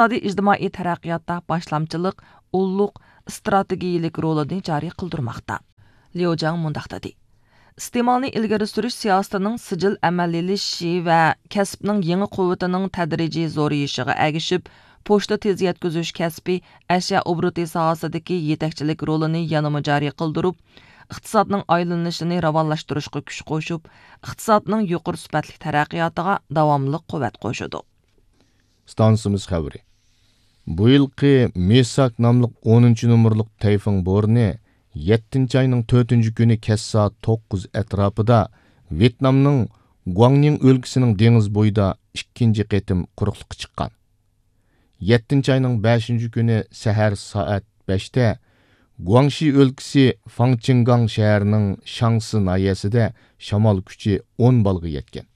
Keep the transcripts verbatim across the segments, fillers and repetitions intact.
ئىقتىسادىي ئىجتىمائىي تەرەققىياتتا باشلامچىلىق، ئۇللۇق ئىستراتېگىيىلىك رولىنى جارى قىلدۇرماقتا. ليۇ جاڭ مۇنداق دېدى: ئىستېمالنى ئىلگىرى سۈرۈش سىياسىتىنىڭ سىجىل ئەمەلىيلىشىشى ۋە كەسىپنىڭ يېڭى قۇۋۋىتىنىڭ تەدرىجىي زورىيىشىغا ئەگىشىپ، پوچتا تېز يەتكۈزۈش كەسپى ئەشيا ئوبوروتى ساھەسىدىكى يېتەكچىلىك رولىنى يەنىمۇ جارى قىلدۇرۇپ، ئىقتىسادنىڭ ئايلىنىشىنى راۋانلاشتۇرۇشقا كۈچ قوشۇپ، ئىقتىسادنىڭ يۇقىرى سۈپەتلىك تەرەققىياتىغا داۋاملىق قۇۋۋەت قوشىدۇ. ئىستانسىمىز خەۋىرى. بۇ يىلقى مېساك ناملىق ئونىنچى نومۇرلۇق تەيفېڭ بورىنى يەتتىنچى ئاينىڭ تۆتىنچى كۈنى كەچ سائەت توققۇز ئەتراپىدا ۋيېتنامنىڭ گۇاڭنىڭ ئۆلكىسىنىڭ دېڭىز بويىدا ئىككىنچى قېتىم قۇرۇقلۇققا چىققان. يەتتىنچى ئاينىڭ بەشىنچى كۈنى سەھەر سائەت بەشتە گۇاڭشى ئۆلكىسى فاڭچىڭگاڭ شەھىرىنىڭ شاڭسى ناھىيەسىدە شامال كۈچى ئون بالغا يەتكەن.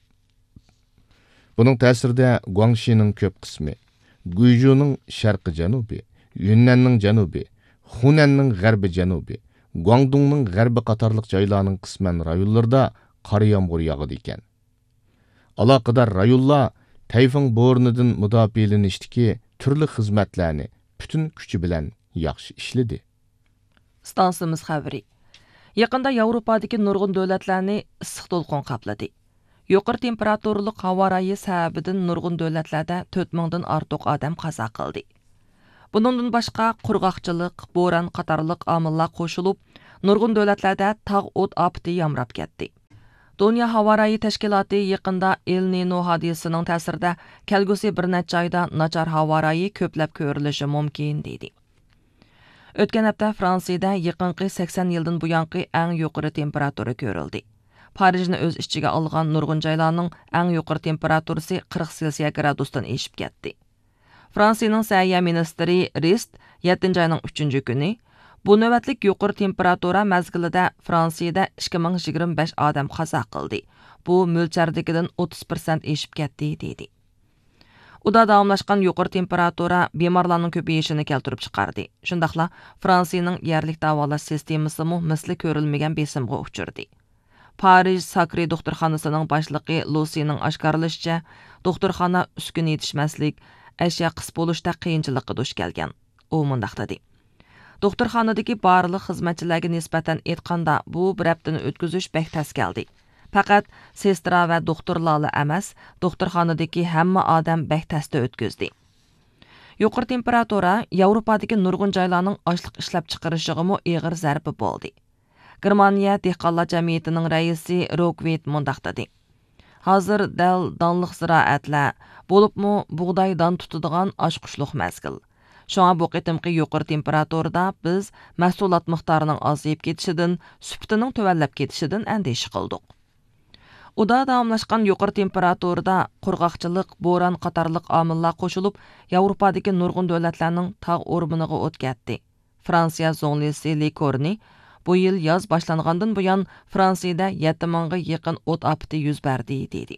بۇنىڭ تەسىرىدە گۇاڭشىنىڭ كۆپ قىسمى، گۇيجۇنىڭ شەرقىي جەنۇبى، يۈننەننىڭ جەنۇبى، خۇنەننىڭ غەربىي جەنۇبى، گۇاڭدۇڭنىڭ غەربى قاتارلىق جايلارنىڭ قىسمەن رايونلىرىدا قارا يامغۇر ياغىدىكەن. ئالاقىدار رايونلار تەيفېڭ بورىنىدىن مۇداپىئەلىنىشتىكى تۈرلۈك خىزمەتلەرنى پۈتۈن كۈچى بىلەن ياخشى ئىشلىدى. ئىستانسىمىز خەۋىرى. يېقىندا ياۋروپادىكى نۇرغۇن دۆلەتلەرنى ئىسسىق دولقۇن قاپلىدى. يۇقىرى تېمپېراتۇرىلىق ھاۋا رايى سەۋەبىدىن نۇرغۇن دۆلەتلەردە تۆت مىڭدىن ئارتۇق ئادەم قازا قىلدى. بۇنىڭدىن باشقا، قۇرغاقچىلىق، بوران قاتارلىق ئامىللار قوشۇلۇپ، نۇرغۇن دۆلەتلەردە تاغ ئوت ئاپىتى يامراپ كەتتى. دۇنيا ھاۋا رايى تەشكىلاتى يېقىندا ئېل نىنو ھادىسىسىنىڭ تەسىرىدە كەلگۈسى بىر نەچچە ئايدا ناچار ھاۋا رايى كۆپلەپ كۆرۈلۈشى مۇمكىن، دېدى. ئۆتكەن ھەپتە فرانسىيىدە يېقىنقى سەكسەن يىلدىن بۇيانقى ئەڭ يۇقىرى تېمپېراتۇرا كۆرۈلدى. پارىژنى ئۆز ئىچىگە ئالغان نۇرغۇن جايلارنىڭ ئەڭ يۇقىرى تېمپېراتۇرىسى قىرىق سېلسىيە گرادۇستىن ئېشىپ كەتتى. فرانسىيىنىڭ سەھىيە مىنىستىرى رىست يەتتىنچى ئاينىڭ ئۈچىنچى كۈنى، بۇ نۆۋەتلىك يۇقىرى تېمپېراتۇرا مەزگىلىدە فرانسىيىدە ئىككى مىڭ يىگىرمە بەش ئادەم قازا قىلدى. بۇ مۆلچەردىكىدىن ئوتتۇز پىرسەنت ئېشىپ كەتتى، دېدى. ئۇدا داۋاملاشقان يۇقىرى تېمپېراتۇرا بىمارلارنىڭ كۆپىيىشىنى كەلتۈرۈپ چىقاردى. شۇنداقلا فرانسىيىنىڭ يەرلىك داۋالاش سىستېمىسىمۇ مىسلى كۆرۈلمىگەن بېسىمغا ئۇچرىدى. پارىژ ساكرى دوختۇرخانىسىنىڭ باشلىقى لۇسىنىڭ ئاشكارىلىشىچە، دوختۇرخانا ئۈسكۈنە يېتىشمەسلىك، ئەشيا قىس بولۇشتا قىيىنچىلىققا دۇچ كەلگەن. ئۇ مۇنداق دېدى: دوختۇرخانىدىكى بارلىق خىزمەتچىلەرگە نىسبەتەن ئېيتقاندا، بۇ بىر ھەپتىنى ئۆتكۈزۈش بەك تەس كەلدى. پەقەت سېسترا ۋە دوختۇرلارلا ئەمەس، دوختۇرخانىدىكى ھەممە ئادەم بەك تەستە ئۆتكۈزدى. يۇقىرى تېمپېراتۇرا ياۋروپادىكى نۇرغۇن جايلارنىڭ ئاشلىق ئىشلەپچىقىرىشىغىمۇ ئېغىر زەربە بولدى. گېرمانىيە دېھقانلار جەمئىيىتىنىڭ رەئىسى روكۋىت مۇنداق دېدى: ھازىر دەل دانلىق زىرائەتلەر، بولۇپمۇ بۇغداي دان تۇتىدىغان ئاچقۇچلۇق مەزگىل. شۇڭا بۇ قېتىمقى يۇقىرى تېمپېراتۇرىدا بىز مەھسۇلات مىقدارىنىڭ ئازىيىپ كېتىشىدىن، سۈپىتىنىڭ تۆۋەنلەپ كېتىشىدىن ئەندىشە قىلدۇق. ئۇدا داۋاملاشقان يۇقىرى تېمپېراتۇرىدا قۇرغاقچىلىق، بوران قاتارلىق ئامىللار قوشۇلۇپ، ياۋروپادىكى نۇرغۇن دۆلەتلەرنىڭ تاغ ئورمىنىغا ئوت كەتتى. فرانسىيە زۇڭلىسى لې كورنى، بۇ يىل ياز باشلانغاندىن بۇيان، فرانسىيىدە يەتتە مىڭغا يېقىن ئوت ئاپىتى يۈز بەردى، دېدى.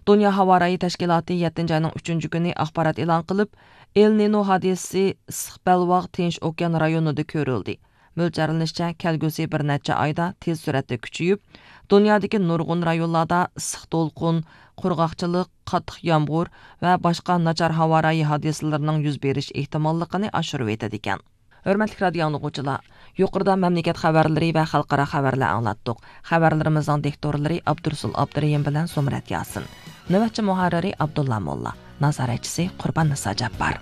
دۇنيا ھاۋا رايى تەشكىلاتى يەتتىنچى ئاينىڭ ئۈچىنچى كۈنى ئاخبارات ئېلان قىلىپ، ئېل نىنو ھادىسىسى ئىسسىق بەلباغ تىنچ ئوكيان رايونىدا كۆرۈلدى. مۆلچەرلىنىشىچە، كەلگۈسى بىر نەچچە ئايدا تېز سۈرئەتتە كۈچىيىپ، دۇنيادىكى نۇرغۇن رايونلاردا ئىسسىق دولقۇن، قۇرغاقچىلىق، قاتتىق يامغۇر ۋە باشقا ناچار ھاۋا رايى ھادىسىلىرىنىڭ يۈز بېرىش ئېھتىماللىقىنى ئاشۇرۇۋېتىدىكەن. ھۆرمەتلىك رادىيو ئاڭلىغۇچىلار، يۇقىرىدا مەملىكەت خەۋەرلىرى ۋە خەلقئارا خەۋەرلەر ئاڭلاتتۇق. خەۋەرلىرىمىزنىڭ دىكتورلىرى ئابدۇرۇسۇل ئابدۇرېھىم بىلەن زۇمرەت ياسىن. نۆۋەتچى مۇھەررىرى ئابدۇللا موللا. نازارەتچىسى قۇربان نىسا جاپپار.